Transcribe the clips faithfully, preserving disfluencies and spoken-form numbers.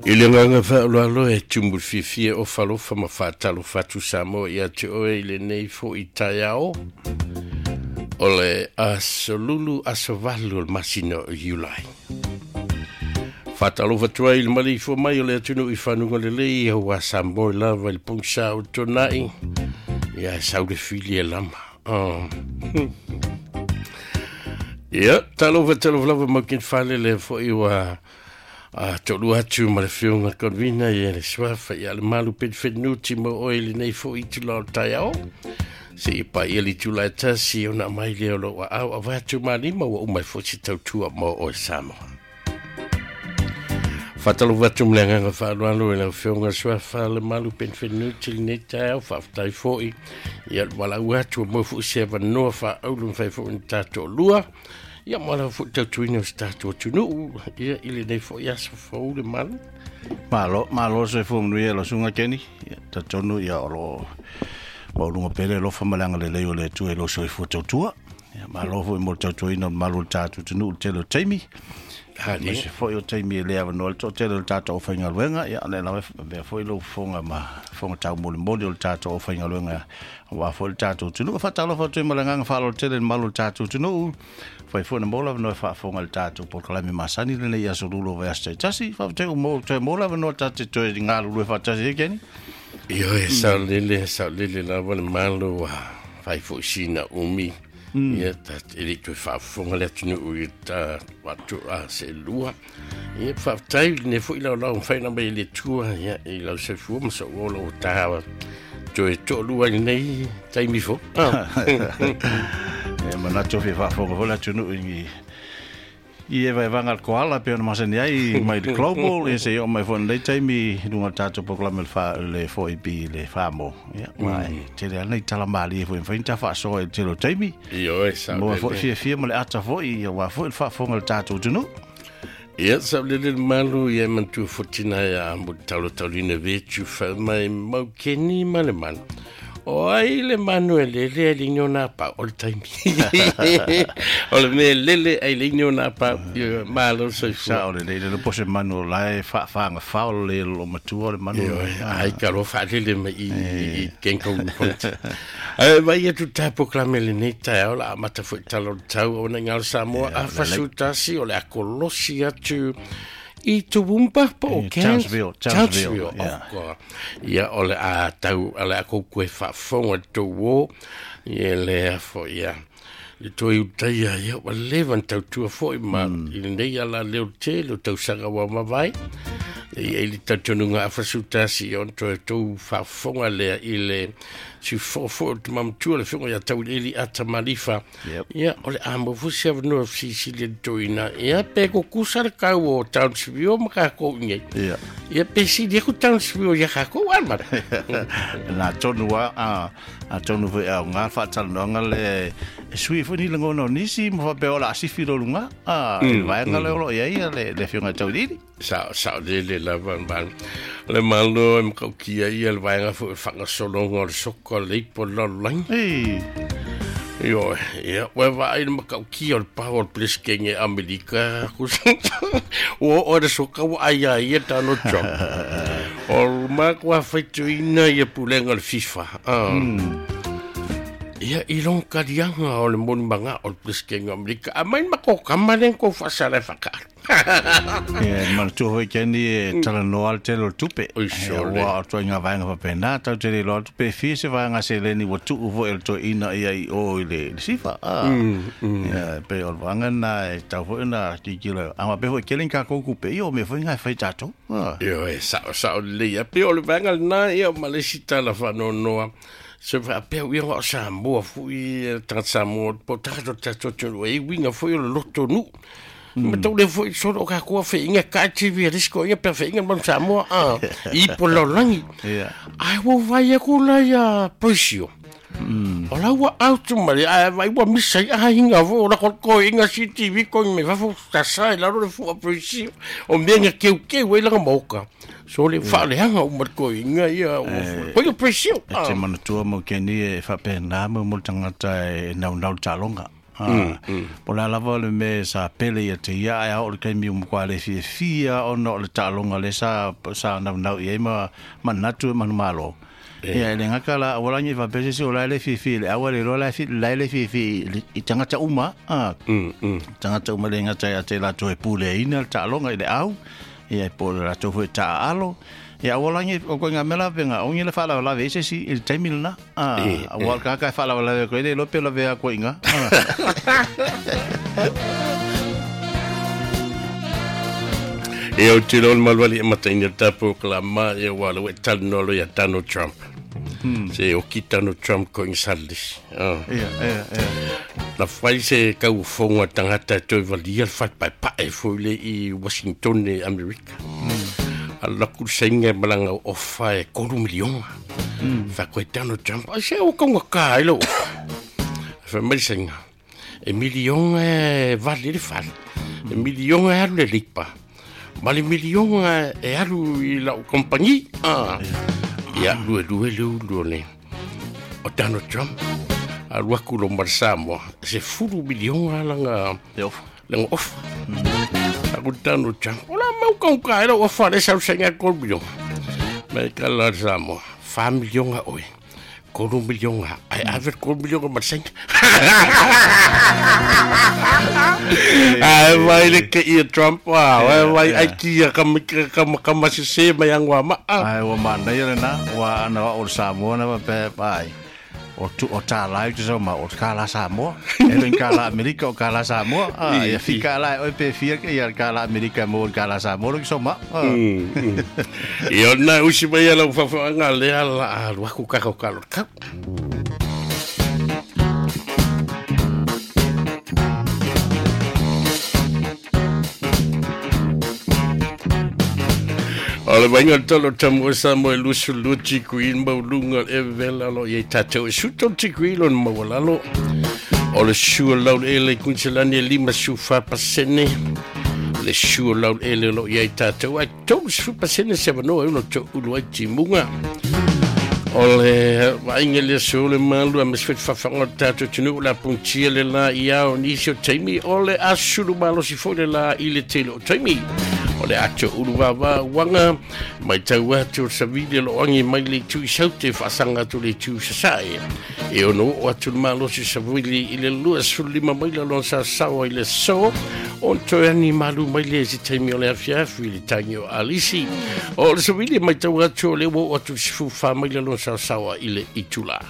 I le agaga faaaloalo e tumu fiafia o falofa ma faatalofa atu Samoa ia te oe i lenei fo'i taeao o le aso Lulu, aso valu o le masina o Iulai. Faatalofa atu ai i le maleifua mai o le atunuu i fanuga lelei auā Samoa i lava i le pogisa o tona'i ia e sau le fili e lama. Oh. Ia, talofa talofa lava mau kin fale le fo'i ua a to'alua atu ma le afioga Convina ia le suafa ia le malu penifenuti mo oe i lenei fo'i itula o le taeao seia paia le itula e tasi ona aumai lea o lou aao ava atu malima ua uma ai fo'i se tautua mo oe Samoa. Faatalofa atu ma le agaga faaaloalo i lau afioga Suafa le malu penifenuti lenei taeao faafetai fo'i ia le valaau atu ua maua fo'i se avanoa faaaulu mafai fo'i ona tatou ia mo lau fo'i tautuina o se tatou atunuu ia i lenei fo'i aso fou le malu. Malo, malo soifua manuia lau susuga Keni. Ia, talitonu ia o loo maualuga pea le alofa ma le agalelei o le Atua i lou soifua tautua. Ia, malo foi mo le tautuaina o le malu o le tatou atunuu i le tele o taimi. Aemaise foi o taimi e le avanoa ai le toatele o le tatou aufaigaluega. Ia, o lea lava e avea foi lou fofoga ma fofoga taumolimoli o le tatou aufaigaluega aua foi le tatou atunuu. E faatalofa atu ai ma le agaga faaaloalo tele i le malu o le tatou atunuu. Fai foi na maua le avanoa e faafofoga i le tatou polokalame masani lenei aso Lulu o vaiaso taitasi. Faafetai ua maua toe maua le avanoa tatou te toe galulue faatasi ai, Kenny. Ioe, saolele, saolele lava le malo ua fai fo'i sina umi. Ia, ta e le i toe faafofoga le atunuu i ta atu a seelua. Ia, faafetai i lenei fo'i laolao mafai ona aumai e le Atua ia i lau soifua ma sou ola ua ta toe to'alua i lenei taimi fou. Ah. E manatu fia faafofoga foi le atunuu i i evaevaga a le koala pei ona masani ai mai le global ia seia oo mai foi i lenei taimi i luga o le tatou polokalame le fa le four A B le Famo. Ia ma e tele lava nai tala malie foi e mafai ona ta faasoa i le tele o taimi. Ioe, sao Maua foi lele. fiafia ma le ata foi aua foi le faafofoga a le tatou atunuu. Ia, saolele le malu ia e manatua foi tina ia mo le taulataulina vetu fai mai mau keni ma le malu. O ai le manu e lele ai le ini o nā pau o le taimi. O le mea e lele ai le ini o nā pau. Ia, malo soifua. Sao lelei le po se manu o la e faafagafao le lo matua o le manu. Ioe, ai ka loa faalele mai i i kenka ulu ponti. Ae vai atu tā polokalame lenei taeao la amata fo'i tala o le tau ona i ngalo Samoa Ia, a lelei. fasutasi o le akolosi atu i Toowoomba po o Eh, Cairns? Townsville, Townsville, Townsville, yeah. oh God. Ia o le a tau o le a koukou e faafofoga le tou uō ia lea fo'i ia le toe utaia ia ua leva ona tautua fo'i ma i lenei ala lea o le tele o tausaga ua mavae. E i ai le talitonuga afasutasi ia ona toe tou faafofoga lea i le siufo'o fo'i o le tamamatua le afioga ia Tauiliili Ata Malifa. Yep. Ia o le a maua foi se avanoa fesilisili le toeaina ia pe kukusa le kau o Townsville ma kakou i nei. Ia. Ia pe sili aku Townsville ia kakou a mara. Na tonu a a a tonu foi au ngā faatalanoaga le e sui foi ni lagona o nisi ma faapea o le a sifi lo luga a i le vaega lea o loo i ai ia le le afioga i Tauiliili. Sao saolele lava le malu. Le malo e makaukia ia le vaega fo'i o le faagasologa o le soka o le ipo o le lalolagi. Ei. Ioe, ia, ua vaai le makaukia o le pao o le Peresetene Amerika. Ua oo le soka ua ai ia ia Donald Trump. O le makuā faitioina ia pulega o le FIFA. Ah. Ia i lona kaliaga o le molimaga o le Peresetene o Amerika. Aumai le matou kama lea na tou faasala e faakaalo. Ia, e manatua foi Keni e talanoa le tele o le tupe. Oi Ia, sole. ua o ituaiga vaega faapena, tatou te le iloa atu pe fia se vaega seleni ua tuu foi e le toeaina ia i o i le, le SIFA. Ah. Ia, e pei o le vaega lena e tatau foi ona tilotilo. A faapea foi e tele ni tatou tupe, ia o mea foi na e fai tatou. Ah. Ioe, sao sao lelei. Ia pei o le vaega lena ia ma le isi tala faanoanoa. Se faapea uiga o Samoa fo'i tagata Samoa po o tagata o le tatou atunuu e uiga foi o le loto nuu. Ma tau le fo'i solo o kakou feʻiga ka T V a le isi toeaina pe feʻiga le manu Samoa a i ipo le lalolagi. Ia. Ae ua vai aku la ia Poisio. O la ua out ma le ae vai ua misa ai aiga foi o la toeaina si T V koe mai fafo tasa i lalo le fua Poisio. O mea na keukeu ai laga maoka. So le faaleaga uma le toeaina ia o koe Poisio. E te manatua mau Keni e faapena mo mo le tagata e naunau le taaloga. Po la lava le me sa pele ia te ia ai o le kaimi o mkwa le fiafia ona o le taaloga le sa sa naunau i ai ma manatu e manumalo. Ia le ngaka la awalani fa pese se o la le fiafia le awa le loa la fi la le fiafia i tangata uma a tangata uma le ngata ia te latou e pule ina le taaloga i le au ia po le latou foi taalo. Ia awalani o ko ngā mela venga ongi le whala wala ve se si il taimi lena a awal ka ka whala wala ve ko ile lope la ve ko inga. E o te lon malwali e mataina tapo ka ma e wala we talno lo ya Donald Trump. Se o ki Donald Trump ko insalis. Ia ia ia. La fai se kau fonga tangata toi valia fai pa pa e foi i Washington e Amerika. Alla ku senga malanga o fa e koru miliona. Fa ko Donald Trump a se o konga ka ilo. Fa mai senga. E miliona e vale le fal. E miliona e alu le lipa. Ma le miliona e alu i la compagnie. Ah. Ia lue lue lue lue le. O Donald Trump a lua ku lo marsamoa. Se furu miliona langa le off. Langa off. Aku Donald Trump. Ola mau kau ka ero o fare sa senga ko miliona. Me kala Samoa. Fa miliona oi. Koru miliona. Ai aver koru miliona ma senga. Ai vai le ke i Trump wa. Ai vai ai kia kam kam kam se se mai angwa ma. Ai o mana ia na wa ana o Samoa na pe pai. O tu o ta lai te so ma o ka la Samoa. E le ka la Amerika o ka la Samoa. Ah ia fika la o pe fia ke ia ka la Amerika mo ka la Samoa lo so ma. Ia na usi mai ala fafa le ala lu ku ka ka lo ka. O le vainga tolo tamu sa mo e lusu luti kui maulunga e vela lo ye tatou e suto tikui lo mawalalo. O le sua lau ele kunselani e lima sufa pasene. Le sua lau ele lo ye tatou ai tolu sufa pasene se vanoa e uno to ulu ai timunga. O le vainga le sole malu a mesfet fafanga tatou tunu la puntia le la ia o nisi o taimi. O le asulu malo si fo le la i le tele o taimi. O le ato uluwawa wanga mai tau atu o savili lo angi mai le tu i saute whaasanga atu le tu sasae. E ono o atu le malosi savili i le lua sulima mai la lon sa sawa i le so on toe ani malu mai le si taimi o le afiafi i le tangi o alisi. O le savili mai tau atu o le o atu sifu wha mai la lon sa sawa i le itula.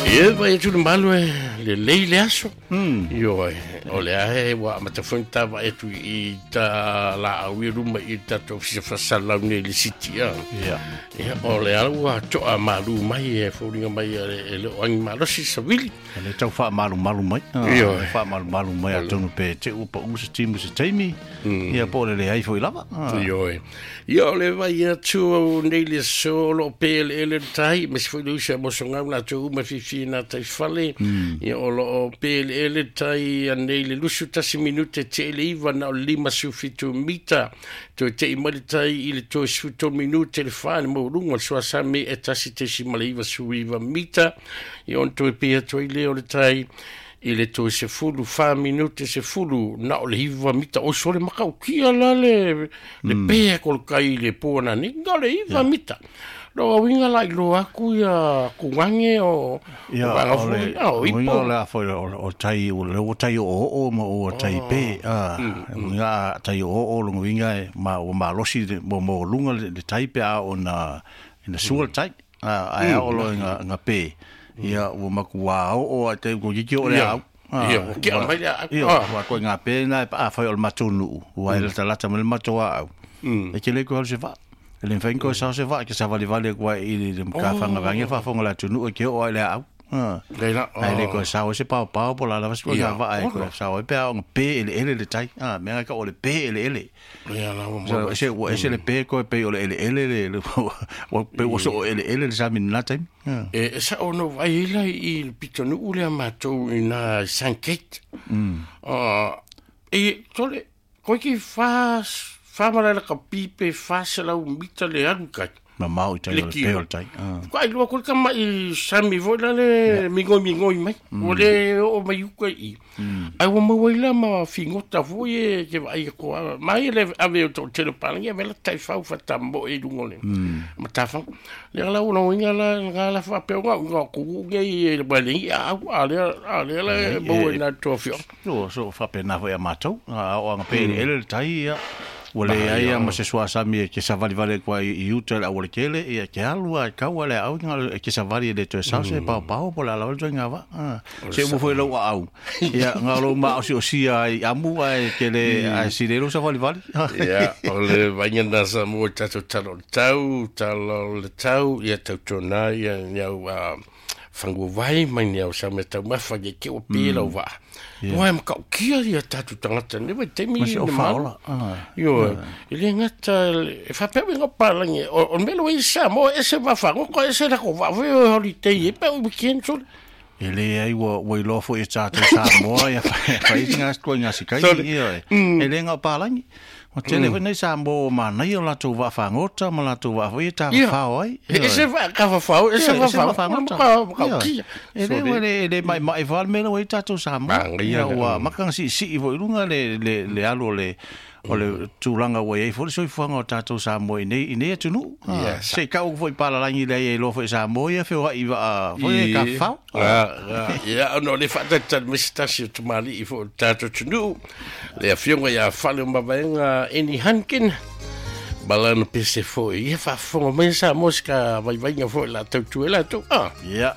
E vai atu le malu e le lei le aso. Io e o le ahe wa matafonta va atu i ta la au i ruma i tatou fisa fasalau nei le siti a. Ia. Ia o le au a toa malu mai e faulinga mai e le o angi malosi savili. E le tau wha malu malu mai. Io e. Wha malu malu mai a tonu pe te upa usa timu se taimi. Ia po le le ai foi lava. Io e. Ia o le vai atu au nei le so lo pe le ele tai me se foi le usa mo songa la tu uma fifi na tai fale. Ia o lo pe le ele tai nei le lusu tasi minute te ele iwa na o lima sufitu mita. Toe te i mali tai i le toe suto minute le whaane mo runga le suasame e tasi tesi male iwa su iwa mita. Ia on toe pia toi le o le tai i le toe se fulu wha minute se fulu na o le iwa mita. O sole makau kia la le, le mm. pea ko le kai le pōna ni nga le iwa yeah. mita. Lo winga la ilo aku ia kuange o ia o le winga la fo o tai o le o tai o o mo o tai pe a winga tai o o lo winga ma o malosi mo mo lunga le tai pe a o na na sual tai a a o lo nga nga pe ia o makua o te ko ki o le au. Ia, o kia mai le au. Ia, wa ko ngā pe na a fai o le matonu, ua e lata lata mo le matua au. E ke le ko se va. Le mfai ko sa se va ke sa vale vale ko i le ka fanga vange fa fonga la tunu ke o le au. Le la. Ai le ko sa o se pau pau po la la va ga va ai ko sa o pe o pe ele ele le tai. Ah, me ka o le pe ele ele. Ia la o. Se o se le pe ko pe o le ele ele le o pe o so ele ele le sa min la tai. E sa o no vai la i le pitonu le matou ina Saint-Kate. Ah, e tole ko ki fa Whamara la ka pipe whaselau mita le alu kai. Mamao i tai o le pe o le tai. Ka ai lua ko ka mai sami foi la le mingoi mingoi mai. O le o mai uka i. Ai ua maua i la ma figota foi e ke vaai ko mai le ave o to tele palangi ave la tai fau fatambo e lunga le. Matafa. Le la una inga la nga la fa pe nga nga ku ge i le bali a a le a le la bo na to fio. No so fa pe na foi a matou. A o anga pe ele le tai ia. Ua le ai ma se suasami e ke savali vale kwa i uta le awale kele ia ke alu a kau ale au nga e ke savali le toe sause mm. pao pao po la la ole nga va se mo foi lau au ia nga lo ma o si o si ai amu ai ke le ai si le lo savali vale ia o le vainga na sa mo tato talo tau talo le tau ia tau tona ia niau a fangu vai mai niau sa me tau mafa ke ke o pela o va. Ua e makau kia ia tātou tangata ne vai temi ne ma. Io e le ngata e whapea ngā palangi o o melo i sa mo e se wafango ko e se la ko va voi o holiday e pe o weekend so. E le ai ua ua iloa foi e tātou Samoa ia whai ngā koe ngā sikai ia e le ngā palangi. O tele foi nei Samoa o manaia o latou vaafagota ma latou vaafoi e tafafao ai. E se vaakafafao, e se vaafagota. E le ua le le mai mai fale mea ua i tātou Samoa. Ua makanga siisii foi lunga le le le alu o le o le tulaga ua iai foi le soifuaga o tatou Samoa i nei i nei atunuu. Se kau foi palalagi lea ia iloa foi Samoa ia feoai vaa foi e kafafao. Ia ona o le faatalitali mai se tasi o tamalii foi o le tatou atunuu. Le afioga ia Fale o Mavaega Eni Hankin. Balana pese foi ia faafofoga mai Samoa se ka vaivaiga foi la tautua e latou. Ia.